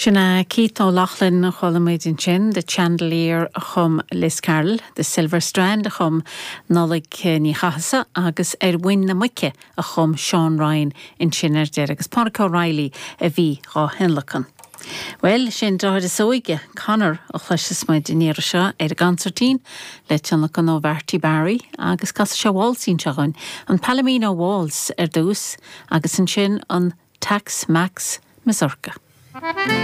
Sin é Keith Ó Lochlainn a chuala muid ansin, The Chandelier a chum Liz Carroll, The Silver Strand a chum Nollaig Ní Chathasaigh agus Ar Mhuin na Muice a chum Seán Ryan ansin ar deireadh agus Pádraic O'Reilly a bhí dhá thionlacan. Bhuel, sé an deartháir is óige, Conor, a chloisfeas muid an iarraidh seo ar an gconsairtín le tionlacan ó Bhertie Barry agus casfaidh sé válsaí anseo dhúinn, an Palomino Waltz ar dtús agus ansin an Tex Mex Mazurka.